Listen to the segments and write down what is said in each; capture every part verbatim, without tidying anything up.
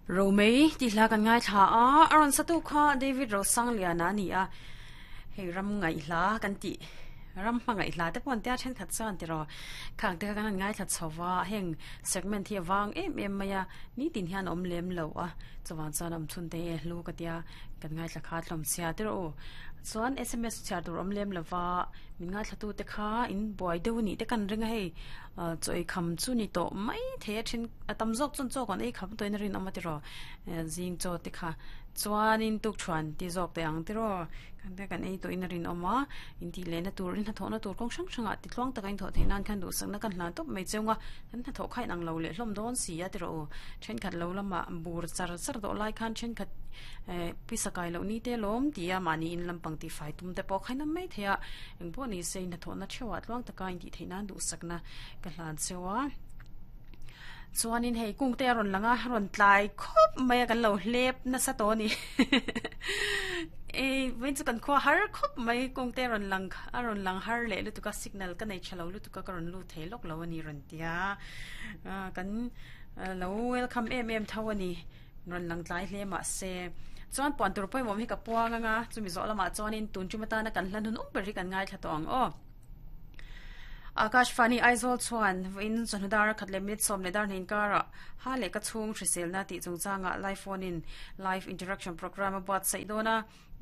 Romei ti hla kan ngai thla a aron satu kha David Rosang liana ani a hei ram ngai hla kan ti ram hmangai hla te pon tia then khat chuan tiro khang te kan ngai thla chhowa heng segment hi awang em em maya ni tin hian om lem lo a chuan chuan am chhun te hlu ka tia kan ngai thla kha tlom sia tiro chuan S M S chhiar tur om lem lova min ngai thla tu te kha in buai deuh ni te kan ringa hei choi kham chu ni to mai the thin atam zawk chun chaw kan ei kham toin rin awm tiro zing chaw te kha chuan in tuk thuan ti zawk te ang tiro kan te kan ei toin rin awm a in ti le na tur in hnathawh na tur kawng hrang hrangah ti tluang taka in thawh theih nan khan duh sakna kan hlan tawp mai cheunga kan hnathawh kha in ang lo leh hlawm dawn si a tiro thenkhat lo lama bur char char dawh lai khan thenkhat pisakai lo ni te lawm ti a mahni in lampang ti fai tum te pawh khain mai theia engpawh ni se in hnathawh na theuh ah tluang taka in ti theih nan duh sakna ka hlan cheua chuanin hei kung te ron langa ron tlai khop mai kan lo hlep na sa to ni e wen chu kan khwa har khop mai kung te ron lang a ron lang har le lutuka signal ka nei chalo lutuka ka ron lu thei lok lo ani ron tia kan lo welcome em em tho ani ron lang tlai hle ma se chuan puan tur pawimawh hi ka puang anga chumi zawh lamah chuanin tun tumata na kan hlan hun um ber hi kan ngai thla tawng aw Akash Fani Aizawl chuan in chawhnudar khat leh minute sawm leh dar hnih inkara ha leh ka chhung hriselna tih chungchanga live phone in live interaction program a buatsaih dawn a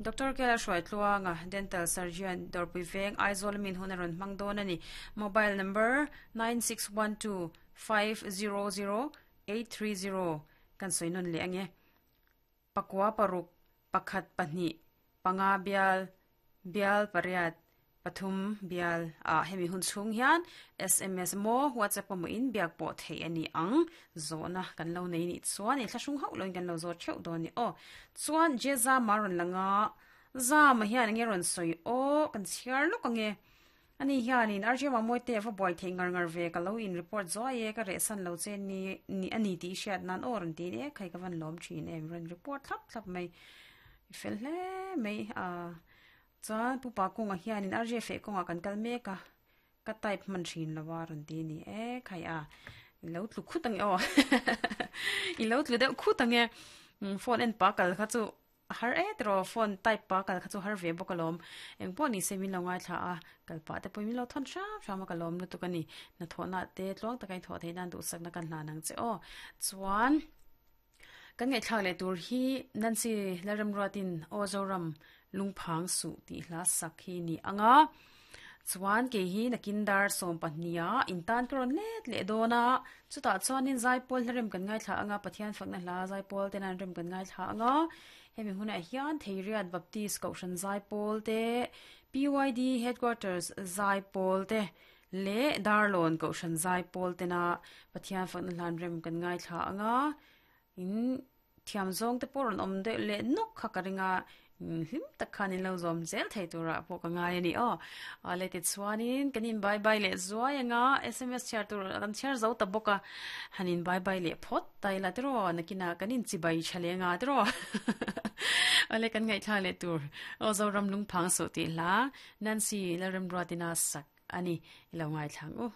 Doctor Kela Hruaitluanga dental surgeon Dawrpui Veng Aizawl min hun a rawn hmang dawn ani mobile number nine six one two five zero zero eight three zero kan sawi nawn leh ange pakua paruk pakhat pahnih panga bial bial pariat pathum bial a hemi hun chhung hian S M S mo WhatsApp mo in biak pawh thei ani ang zawhna kan lo nei ni chuan i thlahrung hauh loin kan lo zawt theuh dawn ni aw chuan jeza maron langa zama hian ange rawn sawi aw kan chhiar lawk ange ani hianin R J Mamoi te va buai thei ngar ngar ve ka lo in report zuai e ka reh san lo che ni ni ani ti hriat nan aw rawn ti e khai ka van lawm thin em rawn report thlap thlap mai fel hle mai a chuan pupa kawnga hianin R J fe kawnga kan kal mek a ka type hman thin lova rawn ti ni e khai a ilo tlu khut ange aw ilo tlu deuh khut ange phone en pa kal kha chu har e tro phone type pa kal kha chu har ve bawk alawm engpawh ni se min lo ngai thla a kalpa te pawh min lo thawn hram hram a ka lawm lutuk ani na thawhna te tluang taka in thawh theih nan duhsakna kan hlan ang che aw chuan kan ngaihthlak leh tur hi Nancy Lalremruatin aw Zoram lungphang su tih hla sak hi ni anga chuan ke hi nakin dar sawm pahnia intan ka rawn let leh dawn a chutah chuanin zaipawl hlarem kan ngai thla anga Pathian fakna hla zaipawl te nan rem kan ngai thla anga hemi hunah hian Theiriat Baptist Kohhran zaipawl te P Y D Headquarters zaipawl te leh Darlawn Kohhran zaipawl te na Pathian fakna hlan rem kan ngai thla anga in thiam zawng te pawh rawn awm deuh leh nawk kha ka ringa hlim tak khan in lo zawm zel thei tura pawh ka ngai ani aw le ti chuanin kan in bye bye leh zuai anga S M S chhiar tur kan chhiar zo ta bawk a hanin bye bye leh phawt tai la tiro nakina kan in chibai thalenga tiro ale kan ngai thla leh tur aw Zoram lungphang su ti hla Nancy Lalremruatina sak ani ilo ngai thlang u.